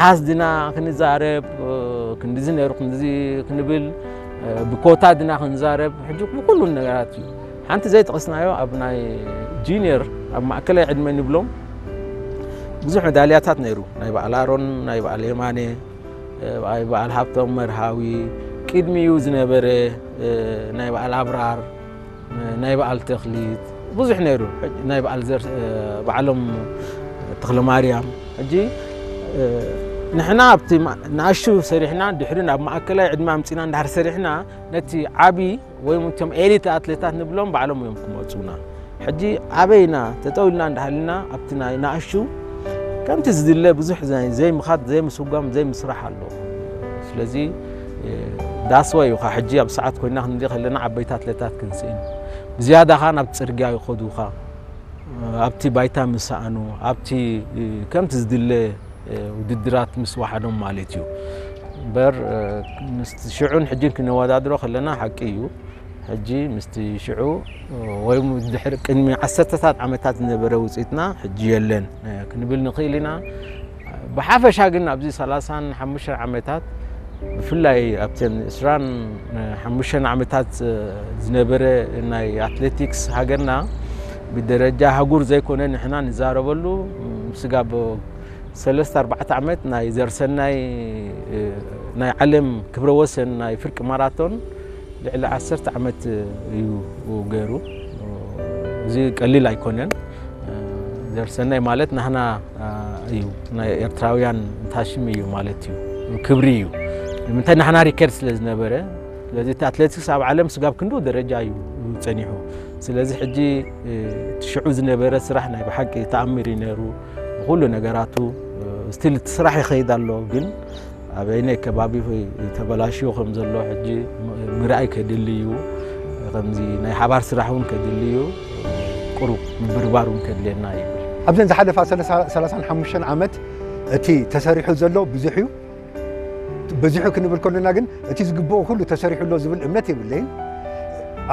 ኣሃዝ ድና ክንዛረብ፣ ክንድዚ ነይሩ ክንድዚ ክንብል፣ ብኮታ ድና ክንዛረብ፣ ሕጂ ብኩሉ ነገራት እዩ። ሓንቲ ዘይጠቐስናዮ ኣብ ናይ ጁኒየር፣ ኣብ ማእከላይ ዕድመ ንብሎም ብዙሕ መዳልያታት ነይሩ። ናይ በዓል ኣሮን፣ ናይ በዓል የማነ፣ ናይ በዓል ሃብቶም መርሃዊ፣ ቅድሚኡ ዝነበረ ናይ በዓል ኣብራር፣ ናይ በዓል ተኽሊት ብዙሕ ነይሩ። ናይ በዓል ዘር-፣ በዓሎም ተኽለ ማርያም። ሕጂ ንሕና ኣብቲ ማ-፣ ንኣሽቱ ሰሪሕና፣ ድሕሪ ናብ ማእከላይ ዕድመ ኣምጺና እንድሕር ሰሪሕና፣ ነቲ ዓቢ ወይ እውን እቶም ኤሊት ኣትሌታት ንብሎም ባዕሎም እዮም ክመጹና። ሕጂ ኣበይና ተጠው ኢልና እንዳሃልና ኣብቲ ናይ ንኣሽቱ ከምቲ ዝድለ ብዙሕ ዘይ-፣ ዘይምኻድ፣ ዘይምስጓም፣ ዘይምስራሕ ኣሎ። ስለዚ፣ እ፣ that's why እዩ ኸዓ ሕጂ ኣብ ሰዓት ኮይና ክንርኢ ከለና ዓበይቲ ኣትሌታት ክንስእን። ብዝያዳ ኸዓ ናብ ጽርግያ ይኸዱ ኸዓ። ኣብቲ ባይታ ምስ ሰኣኑ፣ ኣብቲ፣ እ፣ ከምቲ ዝድለ፣ እ፣ ውድድራት ምስ ወሓዶም ማለት እዩ። እምበር፣ እ፣ ምስቲ ሽዑን ሕጂን ክነወዳድሮ ከለና ሓቂ እዩ። ሕጂ ምስቲ ሽዑ፣ እ፣ ወይ እውን ድሕሪ ቅድሚ ዓሰርተታት ዓመታት ዝነበረ ውፅኢትና ሕጂ የለን፣ እ፣ ክንብል ንኽእል ኢና። ብሓፈሻ ግን ኣብዚ ሰላሳን ሓሙሽተን ዓመታት፣ ብፍላይ ኣብተን ዕስራን ሓሙሽተን ዓመታት ዝነበረ ናይ ኣትሌቲክስ ሃገርና፣ ብደረጃ ኣህጉር ዘይኮነ ንሕና ንዛረበሉ፣ ስጋብ ሰለስተ ኣርባዕተ ዓመት ናይ ዘርሰናይ ናይ ዓለም ክብረ ወሰን ናይ ፍርቂ ማራቶን ልዕሊ ዓሰርተ ዓመት እዩ ገይሩ። እዚ ቀሊል ኣይኮነን። ዘርሰናይ ማለት ናህና እዩ፣ ናይ ኤርትራውያን ታሽም እዩ ማለት እዩ፣ ክብሪ እዩ። ንምንታይ ናህና ሪከርድ ስለ ዝነበረ። ስለዚ እቲ ኣትሌቲክስ ኣብ ዓለም ስጋብ ክንድኡ ደረጃ እዩ ጸኒሑ። ስለዚ ሕጂ፣ እ፣ እቲ ሽዑ ዝነበረ ስራሕ ናይ ብሓቂ ተኣምር እዩ ነይሩ። ብኹሉ ነገራቱ፣ እ፣ ስቲል እቲ ስራሕ ይኸይድ ኣሎ፣ ግን ኣበይናይ ከባቢ ተበላሽዩ ከም ዘሎ ሕጂ ም-፣ ምርኣይ ከድሊ እዩ። ከምዚ ናይ ሓባር ስራሕ እውን ከድሊ እዩ። ቁሩብ ምብርባር እውን ከድልየና ይብል። ኣብዘን ዝሓለፋ ሰላሳ፣ ሰላሳን ሓሙሽተን ዓመት እቲ ተሰሪሑ ዘሎ ብዙሕ እዩ። በዚሑ ክንብል ከለና ግን እቲ ዝግብኦ ኩሉ ተሰሪሑ ኣሎ ዝብል እምነት የብለይን።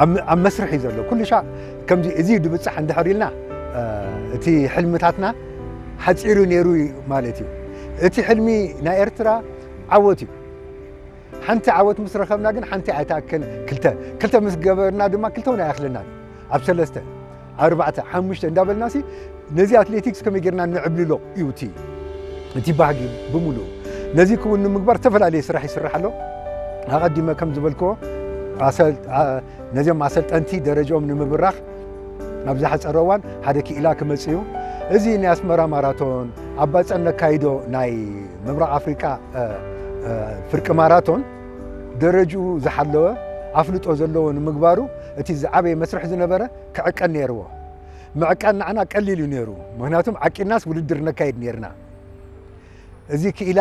ኣብ፣ ኣብ መስርሕ እዩ ዘሎ። ኩሉ ሻዕ ከምዚ እዚ ድብጻሕ እንድሕር ኢልና፣ እ፣ እቲ ሕልምታትና ሓጺሩ ነይሩ ማለት እዩ። እቲ ሕልሚ ናይ ኤርትራ ዓወት እዩ። ሓንቲ ዓወት ምስ ረኸብና ግን ሓንቲ ኣይትኣክል፣ ክልተ፣ ክልተ ምስ ገበርና ድማ ክልተ እውን ኣይኣኽለናን። ኣብ ሰለስተ፣ ኣብ ኣርባዕተ፣ ሓሙሽተ እንዳበልናሲ ነዚ ኣትሌቲክስ ከመይ ጌርና ነዕብልሎ እዩ እቲ፣ እቲ ባህጊ ብምሉኡ። ነዚ ክውን ንምግባር ዝተፈላለየ ስራሕ ይስራሕ ኣሎ። ኣቐዲመ ከም ዝበልክዎ ኣሰል-፣ ኣ-፣ ነዚኦም ኣሰልጠንቲ ደረጃኦም ንምብራኽ ኣብ ዝሓጸረ እዋን ሓደ ክኢላ ክመጽእ እዩ። እዚ ናይ ኣስመራ ማራቶን ኣብ ባጽዕ ነካይዶ ናይ ምብራቕ ኣፍሪቃ፣ እ፣ እ፣ ፍርቂ ማራቶን ደረጅኡ ዝሓለወ ኣፍልጦ ዘለዎ ንምግባሩ እቲ ዝዓበየ መስርሕ ዝነበረ ክዕቀን ነይርዎ። ምዕቃን ንዓና ቀሊል እዩ ነይሩ። ምኽንያቱም ዓቂናስ ውድድር ነካይድ ነይርና። እዚ ክኢላ፣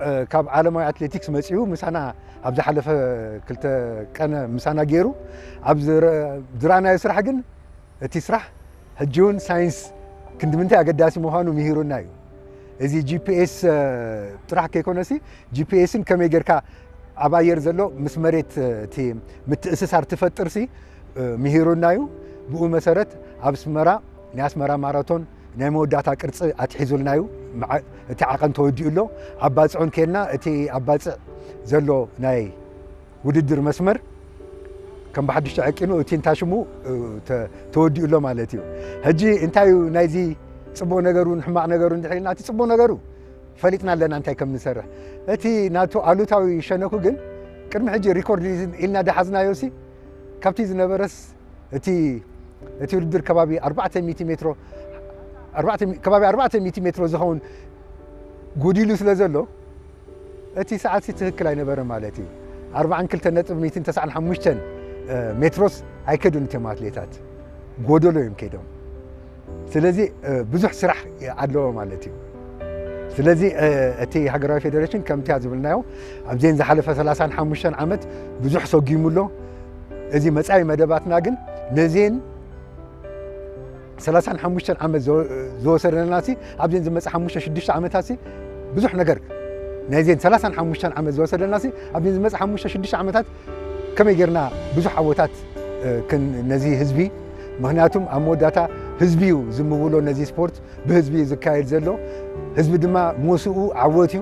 እ፣ ካብ ዓለማዊ ኣትሌቲክስ መጺኡ ምሳና ኣብ ዝሓለፈ ክልተ ቀነ ምሳና ገይሩ ኣብ ዝረ-፣ ዝረኣናዮ ስራሕ ግን እቲ ስራሕ ሕጂ እውን ሳይንስ ክንዲ ምንታይ ኣገዳሲ ምዃኑ ምሂሩና እዩ። እዚ ጂ ፒ ኤስ፣ እ፣ ጥራሕ ከይኮነሲ ጂ ፒ ኤስን ከመይ ጌርካ ኣብ ኣየር ዘሎ ምስ መሬት፣ እ፣ እቲ ምትእስሳር ትፈጥርሲ፣ እ፣ ምሂሩና እዩ። ብኡ መሰረት ኣብ ኣስመራ ናይ ኣስመራ ማራቶን ናይ መወዳእታ ቅርጺ ኣትሒዙልና እዩ። መዓ-፣ እቲ ዓቐን ተወዲኡ ኣሎ። ኣብ ባጽዑን ኬድና እቲ ኣብ ባጽዕ ዘሎ ናይ ውድድር መስመር ከም ብሓድሽ ተዐቂኑ እቲ እንታሽሙ፣ እ፣ ተ-፣ ተወዲኡ ኣሎ ማለት እዩ። ሕጂ እንታይ እዩ ናይዚ ጽቡቕ ነገሩን ሕማቕ ነገሩን እንድሕር ኢልና፣ እቲ ጽቡቕ ነገሩ ፈሊጥና ኣለና እንታይ ከም ንሰርሕ። እቲ ናቱ ኣሉታዊ ሸነኹ ግን ቅድሚ ሕጂ ሪኮርድ እዩ ኢልና ደሓዝናዮሲ ካብቲ ዝነበረስ እቲ፣ እቲ ውድድር ከባቢ ኣርባዕተ ሚእቲ ሜትሮ፣ ኣርባዕተ ሚ-፣ ከባቢ ኣርባዕተ ሚእቲ ሜትሮ ዝኸውን ጎዲሉ ስለ ዘሎ፣ እቲ ሰዓትሲ ትኽክል ኣይነበረ ማለት እዩ። ኣርባዓን ክልተን ነጥቢ ሚእትን ተስዓን ሓሙሽተን፣ እ፣ ሜትሮስ ኣይከዱን እቶም ኣትሌታት፣ ጎደሎ እዮም ከይዶም። ስለዚ፣ እ፣ ብዙሕ ስራሕ ኣለዎ ማለት እዩ። ስለዚ፣ እ፣ እቲ ሃገራዊ ፌደሬሽን ከምቲ ዝበልናዮ ኣብዘን ዝሓለፈ ሰላሳን ሓሙሽተን ዓመት ብዙሕ ሰጒሙ ኣሎ። እዚ መጻኢ መደባትና ግን ነዚን ሰላሳን ሓሙሽተን ዓመት ዝወ-፣ ዝወሰደናሲ ኣብዘን ዝመጽእ ሓሙሽተ ሽዱሽተ ዓመታትሲ ብዙሕ ነገር፣ ናይዘን ሰላሳን ሓሙሽተን ዓመት ዝወሰደናሲ ኣብዘን ዝመጽእ ሓሙሽተ ሽዱሽተ ዓመታት ከመይ ጌርና ብዙሕ ዓወታት፣ እ፣ ክን-፣ ነዚ ህዝቢ፣ ምኽንያቱም ኣብ መወዳእታ ህዝቢ እዩ ዝምውሎ ነዚ ስፖርት፣ ብህዝቢ እዩ ዝካየድ ዘሎ። ህዝቢ ድማ ሞስኡ ዓወት እዩ።